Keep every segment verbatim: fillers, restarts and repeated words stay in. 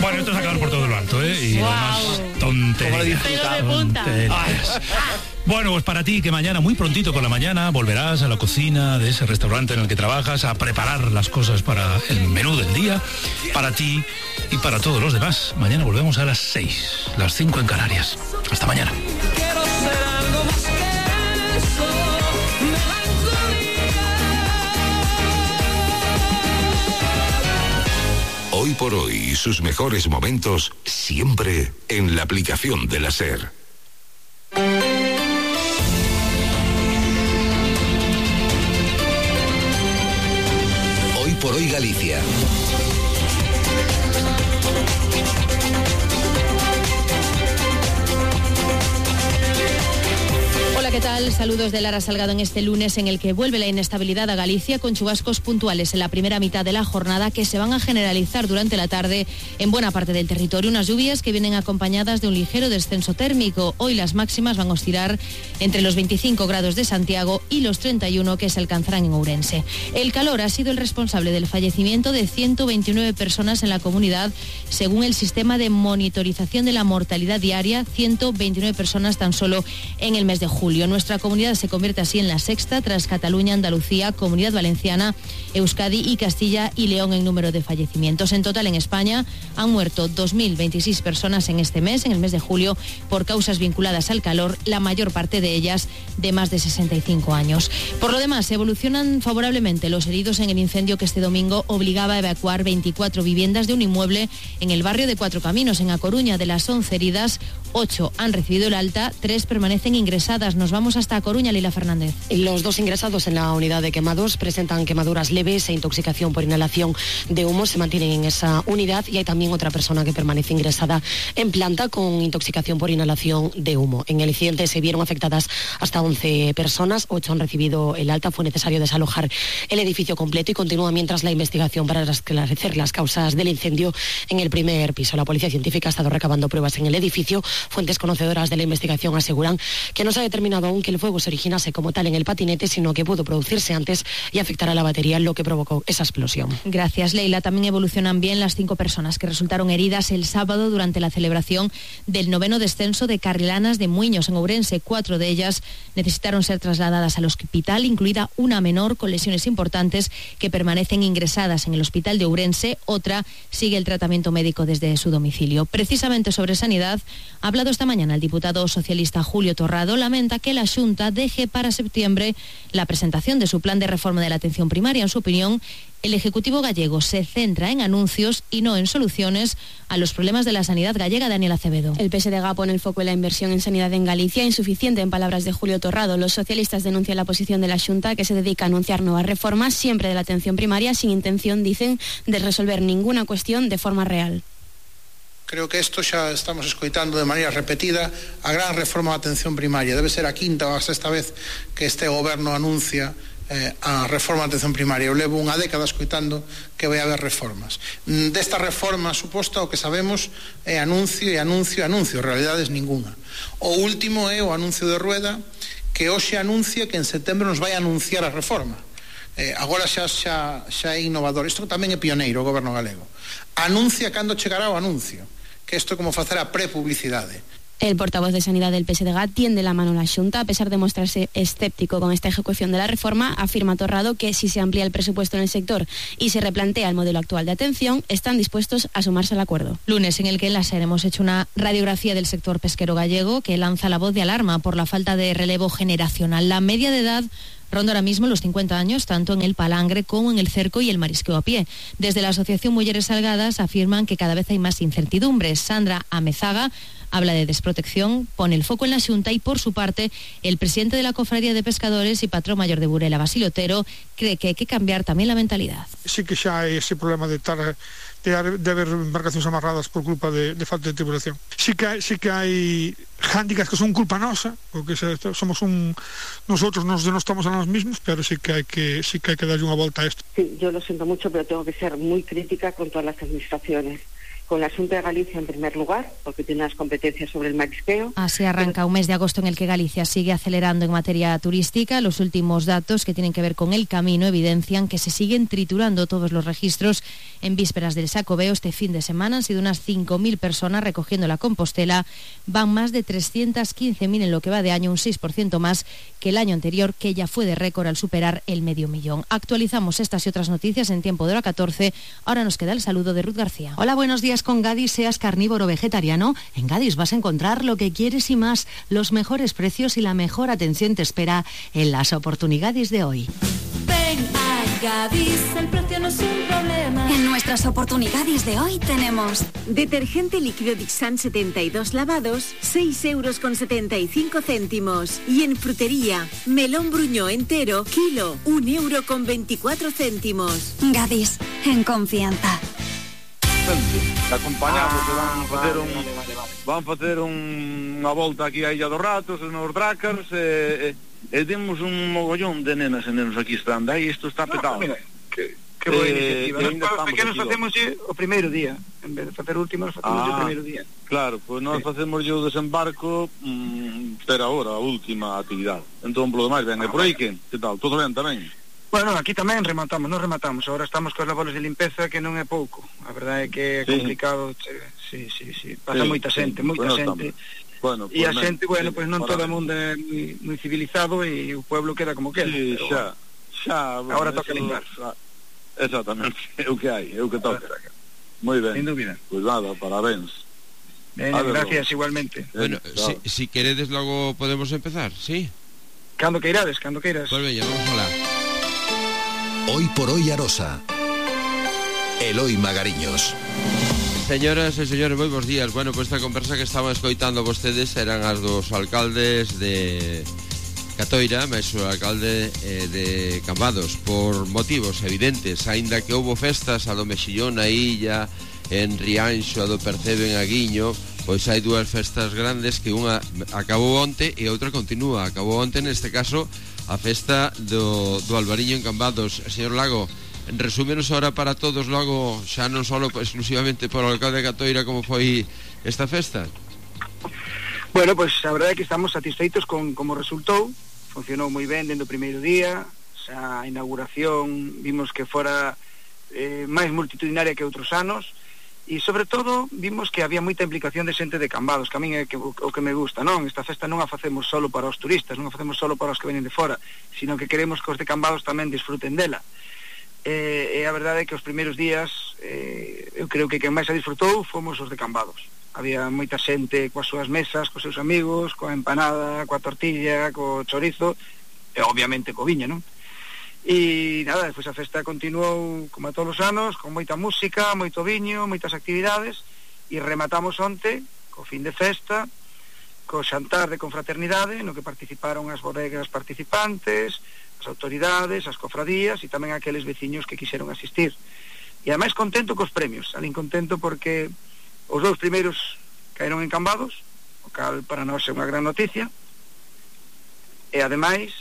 Bueno, esto es acabar por todo lo alto, ¿eh? Y wow. además, tonterías. tonterías. Bueno, pues para ti, que mañana, muy prontito por la mañana, volverás a la cocina de ese restaurante en el que trabajas a preparar las cosas para el menú del día, para ti y para todos los demás. Mañana volvemos a las seis, las cinco en Canarias. Hasta mañana. Hoy por hoy, sus mejores momentos siempre en la aplicación de la SER. Hoy por hoy Galicia. ¿Qué tal? Saludos de Lara Salgado en este lunes en el que vuelve la inestabilidad a Galicia con chubascos puntuales en la primera mitad de la jornada que se van a generalizar durante la tarde en buena parte del territorio. Unas lluvias que vienen acompañadas de un ligero descenso térmico. Hoy las máximas van a oscilar entre los veinticinco grados de Santiago y los treinta y uno que se alcanzarán en Ourense. El calor ha sido el responsable del fallecimiento de ciento veintinueve personas en la comunidad según el sistema de monitorización de la mortalidad diaria, ciento veintinueve personas tan solo en el mes de julio. Nuestra comunidad se convierte así en la sexta tras Cataluña, Andalucía, Comunidad Valenciana, Euskadi y Castilla y León en número de fallecimientos. En total en España han muerto dos mil veintiséis personas en este mes, en el mes de julio, por causas vinculadas al calor, la mayor parte de ellas de más de sesenta y cinco años. Por lo demás, evolucionan favorablemente los heridos en el incendio que este domingo obligaba a evacuar veinticuatro viviendas de un inmueble en el barrio de Cuatro Caminos, en A Coruña. De las once heridas, ocho han recibido el alta, tres permanecen ingresadas. Nos vamos hasta Coruña, Lila Fernández. Los dos ingresados en la unidad de quemados presentan quemaduras leves e intoxicación por inhalación de humo. Se mantienen en esa unidad y hay también otra persona que permanece ingresada en planta con intoxicación por inhalación de humo. En el incidente se vieron afectadas hasta once personas, ocho han recibido el alta. Fue necesario desalojar el edificio completo y continúa mientras la investigación para esclarecer las causas del incendio en el primer piso. La policía científica ha estado recabando pruebas en el edificio. Fuentes conocedoras de la investigación aseguran que no se ha determinado aún que el fuego se originase como tal en el patinete, sino que pudo producirse antes y afectar a la batería, lo que provocó esa explosión. Gracias, Leila. También evolucionan bien las cinco personas que resultaron heridas el sábado durante la celebración del noveno descenso de Carrilanas de Muiños en Ourense. Cuatro de ellas necesitaron ser trasladadas al hospital, incluida una menor con lesiones importantes que permanecen ingresadas en el hospital de Ourense. Otra sigue el tratamiento médico desde su domicilio. Precisamente sobre sanidad ha hablado esta mañana el diputado socialista Julio Torrado. Lamenta que la Xunta deje para septiembre la presentación de su plan de reforma de la atención primaria. En su opinión, el Ejecutivo gallego se centra en anuncios y no en soluciones a los problemas de la sanidad gallega. Daniel Acevedo. El P S D G pone el foco en la inversión en sanidad en Galicia, insuficiente en palabras de Julio Torrado. Los socialistas denuncian la posición de la Xunta, que se dedica a anunciar nuevas reformas, siempre de la atención primaria, sin intención, dicen, de resolver ninguna cuestión de forma real. Creo que isto xa estamos escoitando de maneira repetida. A gran reforma da atención primaria debe ser a quinta ou a sexta vez que este goberno anuncia eh, a reforma da atención primaria. Eu levo unha década escoitando que vai haber reformas. Desta reforma suposta o que sabemos é anuncio e anuncio e anuncio, realidades ninguna. O último é o anuncio de Rueda, que hoxe anuncia que en setembro nos vai anunciar a reforma. Eh, agora xa, xa, xa é innovador. Isto tamén é pioneiro o goberno galego. Anuncia cando chegará o anuncio, que isto é como facer a prepublicidade. El portavoz de Sanidad del P S D G tiende la mano a la Xunta. A pesar de mostrarse escéptico con esta ejecución de la reforma, afirma Torrado que si se amplía el presupuesto en el sector y se replantea el modelo actual de atención, están dispuestos a sumarse al acuerdo. Lunes en el que en la SER hemos hecho una radiografía del sector pesquero gallego que lanza la voz de alarma por la falta de relevo generacional. La media de edad ronda ahora mismo los cincuenta años, tanto en el palangre como en el cerco y el marisqueo a pie. Desde la Asociación Mujeres Salgadas afirman que cada vez hay más incertidumbres. Sandra Amezaga habla de desprotección, pone el foco en la Xunta y, por su parte, el presidente de la Cofradía de Pescadores y patrón mayor de Burela, Basilio Otero, cree que hay que cambiar también la mentalidad. Sí que xa hai ese problema de estar de, de haber embarcacións amarradas por culpa de, de falta de tripulación. Sí que, sí que hai hándicaps que son culpa nosa, porque somos un nosotros nos denostamos a nos mismos, pero sí que hay que sí que hay que darle una vuelta a esto. Sí, yo lo siento mucho, pero tengo que ser muy crítica con todas las administraciones. con la Xunta de Galicia en primer lugar, porque tiene las competencias sobre el marisqueo. Así arranca un mes de agosto en el que Galicia sigue acelerando en materia turística. Los últimos datos que tienen que ver con el camino evidencian que se siguen triturando todos los registros. En vísperas del Xacobeo este fin de semana han sido unas cinco mil personas recogiendo la Compostela. Van más de trescientas quince mil en lo que va de año, un seis por ciento más que el año anterior, que ya fue de récord al superar el medio millón. Actualizamos estas y otras noticias en tiempo de hora catorce. Ahora nos queda el saludo de Ruth García. Hola, buenos días. Con Gadis, seas carnívoro o vegetariano, en Gadis vas a encontrar lo que quieres y más. Los mejores precios y la mejor atención te espera en las oportunidades de hoy. Ven a Gadis, el precio no es un problema. En nuestras oportunidades de hoy tenemos detergente líquido Dixan setenta y dos lavados, seis euros con setenta y cinco céntimos. Y en frutería, melón bruñó entero, kilo, un euro con veinticuatro céntimos. Gadis, en confianza. Te acompañamos, ah, van facer un vale, vale, vale. van facer un, unha volta aquí a Illa dos Ratos, nos Drácars, e, e, e temos un mogollón de nenas e nenos aquí estando, aí isto está petado. No, mira, que, que boa eh, iniciativa. Nos pequenos facemos o primeiro día, en vez de facer o último, nos facemos ah, o primeiro día. Claro, pois pues nós sí. facemos o desembarco, mmm, pero agora, a última actividade. Entón, polo demais, ben, ah, e por aí que? Que tal? Todo ben tamén? Bueno, aquí tamén rematamos, non rematamos. Agora estamos cos labores de limpeza, que non é pouco. A verdade é que é sí. complicado. Sí, sí, sí. Pasa sí, moita xente, sí. moita bueno, xente. Bueno, e a xente, bueno, pois pues non todo o mundo é moi, moi civilizado e o pueblo queda como queda. Sí, pero, xa, xa. Bueno, agora toca limpar. Exactamente, é o que hai, é o que toca. Moi ben. Sin dúbida. Pois pues nada, parabéns. Ben, gracias, igualmente. Bueno, si, si queredes logo podemos empezar, ¿sí? Cando queirades, cando queiras. Pues veña, vamos alá. Hoy por hoy Arosa. Eloi Magariños. Señoras e señores, moi bons días. Bueno, pues esta conversa que estaban escoitando vostedes eran as dos alcaldes de Catoira, máis o alcalde eh, de Cambados, por motivos evidentes, aínda que houbo festas a do Mexillón na Illa, en Rianxo, a do Percebe en Aguiño, pois hai dúas festas grandes que unha acabou onte e outra continúa. Acabou onte, neste caso, a festa do, do Albariño en Cambados. Señor Lago, resúmenos ahora para todos logo, xa non só exclusivamente por o alcalde de Catoira, como foi esta festa. Bueno, pois pues, a verdade é que estamos satisfeitos con como resultou. Funcionou moi ben dentro do primeiro día. A inauguración vimos que fora eh, máis multitudinaria que outros anos. E sobre todo vimos que había moita implicación de xente de Cambados, que a min é que, o, o que me gusta, non? Esta festa non a facemos solo para os turistas, non a facemos solo para os que venen de fora, sino que queremos que os de Cambados tamén disfruten dela. E, e a verdade é que os primeiros días eh, eu creo que quen máis a disfrutou fomos os de Cambados. Había moita xente coas súas mesas, cos seus amigos, coa empanada, coa tortilla, co chorizo e obviamente co viño, non? E nada, despois a festa continuou como a todos os anos, con moita música, moito viño, moitas actividades, e rematamos onte co fin de festa, co xantar de confraternidade, no que participaron as bodegas participantes, as autoridades, as cofradías e tamén aqueles veciños que quixeron asistir. E ademais contento cos premios, alín contento porque os dous primeiros caeron en Cambados, o cal para nós é unha gran noticia, e ademais...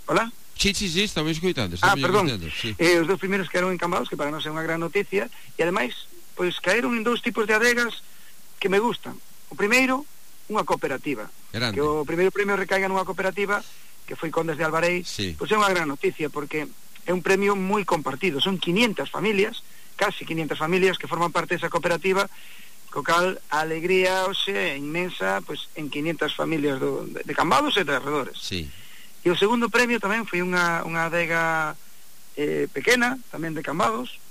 Hola? Sí, sí, sí, estamos escoitando. Ah, perdón, sí. eh, os dous primeiros caeron en Cambados, que para nós é unha gran noticia, e ademais, pois caeron en dous tipos de adegas que me gustan. O primeiro, unha cooperativa. Grande. Que o primeiro premio recaiga nunha cooperativa, que foi Condes de Albarei, sí. Pois é unha gran noticia, porque é un premio moi compartido. Son quinientas familias, casi quinientas familias que forman parte desa cooperativa, co cal a alegría hoxe é inmensa, pois en quinientas familias do, de, de Cambados e de arredores. Sí. E o segundo premio tamén foi unha, unha adega eh, pequena, tamén de Cambados,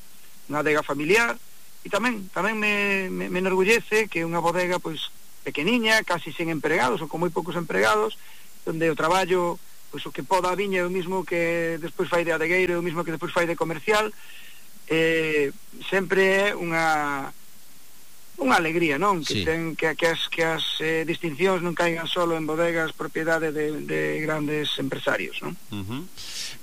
unha adega familiar, e tamén tamén me, me, me enorgullece que unha bodega pois pequeniña, casi sen empregados ou con moi poucos empregados, onde o traballo, pois o que poda a viña é o mismo que despois fai de adegueiro, é o mismo que despois fai de comercial, eh, sempre é unha unha alegría, non? Que sí. ten que, que as, que as eh, distincións non caigan solo en bodegas propiedade de, de grandes empresarios, non? Uh-huh.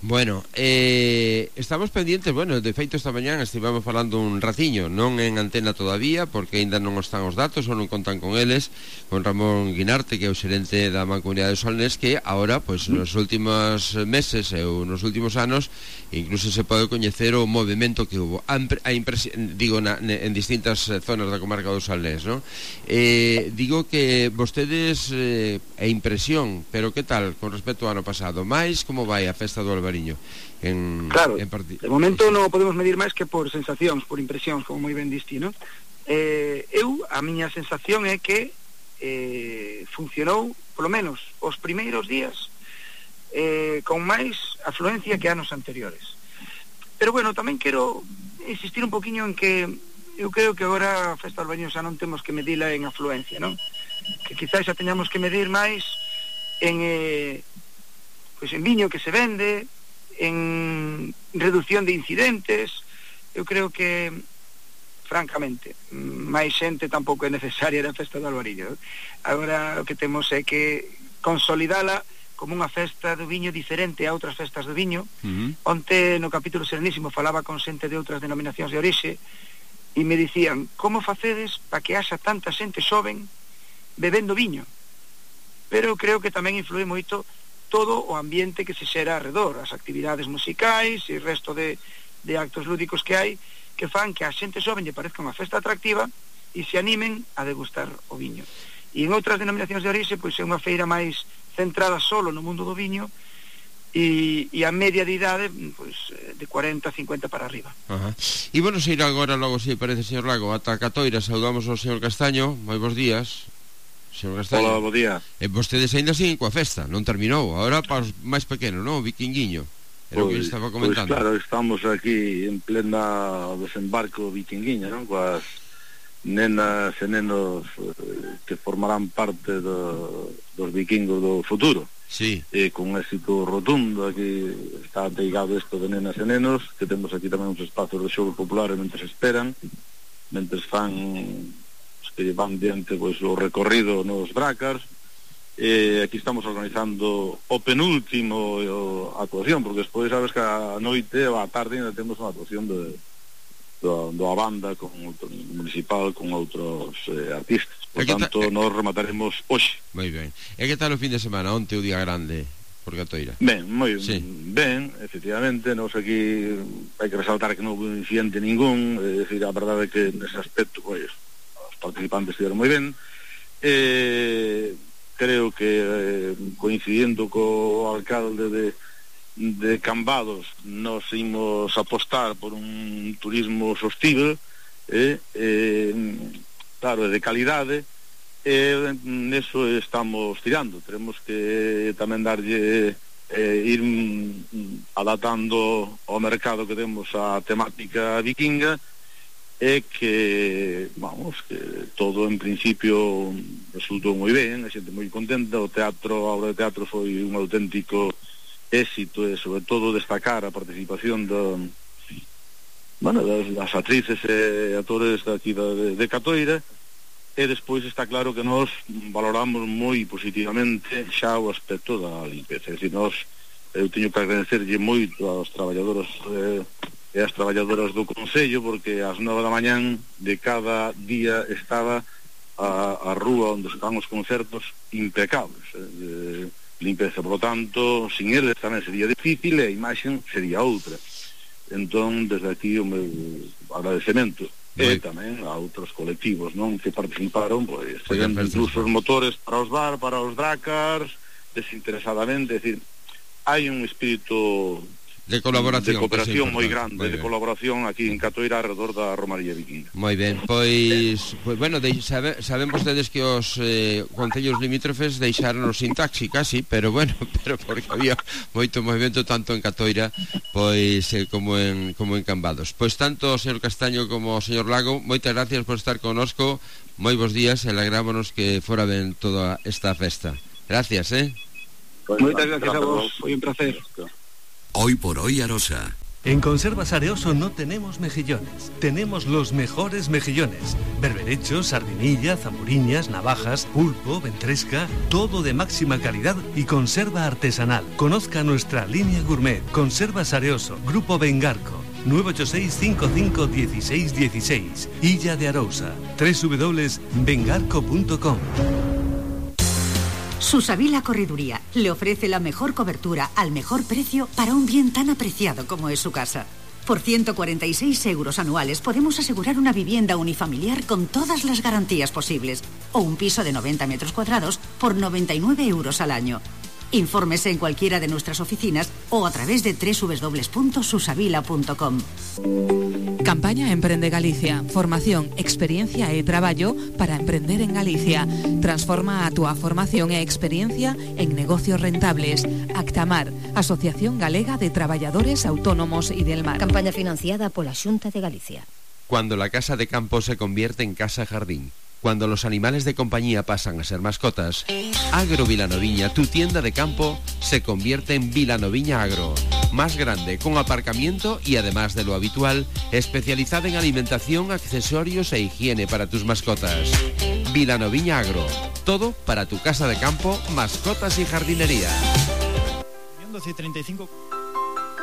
Bueno, eh, estamos pendientes, bueno, de feito esta mañán estivamos falando un raciño, non en antena todavía, porque aínda non están os datos ou non contan con eles, con Ramón Guinarte, que é o xerente da Mancomunidade do Solnés, que agora, pois, nos últimos meses ou nos últimos anos, incluso se pode coñecer o movimento que hubo, a, a impresión, digo, na, en distintas zonas da comarca do Salnés, non? Eh, digo que vostedes eh, é impresión, pero que tal con respecto ao ano pasado? Mais como vai a festa do Albariño? En, claro, en part... de momento non podemos medir máis que por sensacións, por impresións, como moi ben diste, non? Eh, eu, a miña sensación é que eh, funcionou, polo menos, os primeiros días eh, con máis afluencia que anos anteriores. Pero bueno, tamén quero insistir un poquinho en que eu creo que agora a festa do Albariño xa non temos que medila en afluencia, non? Que quizás xa teñamos que medir máis en eh, pois en viño que se vende, en reducción de incidentes. Eu creo que francamente máis xente tampouco é necesaria na festa do Albariño. Agora o que temos é que consolidala como unha festa do viño diferente a outras festas do viño. Uh-huh. Onte no capítulo Serenísimo falaba con xente de outras denominacións de orixe e me dicían, como facedes para que haxa tanta xente xoven bebendo viño? Pero eu creo que tamén influe moito todo o ambiente que se xera alrededor, as actividades musicais e o resto de, de actos lúdicos que hai, que fan que a xente xoven lle parezca unha festa atractiva e se animen a degustar o viño. E en outras denominacións de orixe, pois é unha feira máis centrada solo no mundo do viño, e, e a media de idade pois, de cuarenta, cincuenta para arriba. Ajá. E bueno, se ir agora logo, se parece, señor Lago, ata Catoira. Saudamos ao señor Castaño. Moi bons días, señor Castaño. Hola, bo día. E vostedes ainda siguen coa festa, non terminou. Agora para os máis pequenos, non? O Vikinguiño. Era o que estaba comentando. Pois claro, estamos aquí en plena desembarco Vikinguiña, non? Coas nenas e nenos eh, que formarán parte do, dos vikingos do futuro. Sí. E con un éxito rotundo. Aquí está ateigado isto de nenas e nenos, que temos aquí tamén uns espacios de xogo populares mentre esperan, mentre fan os que van diante pois, o recorrido nos Dracars. E aquí estamos organizando o penúltimo o, actuación, porque despois sabes que a noite ou a tarde ainda temos unha actuación de do, do a banda con outro, municipal con outros eh, artistas. Por tanto, ta... nos remataremos hoxe. Moi ben. E que tal o fin de semana? Onte o día grande por Catoira? Ben, moi sí. ben, efectivamente. Nos aquí hai que resaltar que non houve incidente ningún. É dicir, a verdade é que nese aspecto pois, os participantes estiveron moi ben. Eh, creo que eh, coincidindo co alcalde de de Cambados, nos imos apostar por un turismo sostible, eh, eh, claro, de calidade, e neso estamos tirando. Tenemos que tamén darlle eh, ir adaptando ao mercado que temos a temática vikinga, e que, vamos, que todo en principio resultou moi ben, a xente moi contenta. O teatro, a obra de teatro foi un auténtico éxito, e sobre todo destacar a participación do, bueno, das, das actrices e actores daqui de, de Catoira. E despois está claro que nós valoramos moi positivamente xa o aspecto da limpeza. É dicir, nós, eu teño que agradecerlle moito aos traballadores eh, e as traballadoras do Concello, porque ás nove da mañán de cada día estaba a, a rúa onde estaban os concertos impecables, eh, limpeza. Por lo tanto, sin eles tamén sería difícil e a imaxen sería outra. Entón, desde aquí o meu agradecemento. E tamén a outros colectivos, non, que participaron, pois, seguendo incluso os motores para os bar, para os Dracars, desinteresadamente. É dicir, hai un espírito de colaboración, de cooperación moi grande, moi de colaboración aquí en Catoira alrededor da Romaría Vikinga. Moi ben, pois, pois bueno, de, sabe, saben vostedes que os eh, concellos limítrofes deixaron sin taxi casi, pero bueno, pero porque había moito movimento tanto en Catoira pois eh, como en como en Cambados. Pois tanto o señor Castaño como o señor Lago, moitas gracias por estar connosco. Moi bons días e alegrámonos que fora ben toda esta festa. Gracias, eh. Pues, moitas gracias a vos, foi un placer. Hoy por hoy Arosa, En Conservas Areoso no tenemos mejillones, tenemos los mejores mejillones. Berberechos, sardinilla, zamburiñas, navajas, pulpo, ventresca, todo de máxima calidad y conserva artesanal. Conozca nuestra línea gourmet. Conservas Areoso, Grupo Vengarco. nueve ocho seis, cinco cinco, uno seis uno seis. Illa de Arousa. doble u doble u doble u punto vengarco punto com. Susavila Correduría le ofrece la mejor cobertura al mejor precio para un bien tan apreciado como es su casa. Por ciento cuarenta y seis euros anuales podemos asegurar una vivienda unifamiliar con todas las garantías posibles o un piso de noventa metros cuadrados por noventa y nueve euros al año. Infórmese en cualquiera de nuestras oficinas o a través de doble u doble u doble u punto susavila punto com. Campaña Emprende Galicia. Formación, experiencia e traballo para emprender en Galicia. Transforma a túa formación e experiencia en negocios rentables. Actamar, Asociación Galega de Traballadores Autónomos y del Mar. Campaña financiada pola Xunta de Galicia. Cuando la casa de campo se convierte en casa jardín. Cuando los animales de compañía pasan a ser mascotas, Agro Vilanoviña, tu tienda de campo, se convierte en Vilanoviña Agro. Más grande, con aparcamiento y además de lo habitual, especializada en alimentación, accesorios e higiene para tus mascotas. Vilanoviña Agro. Todo para tu casa de campo, mascotas y jardinería. treinta y cinco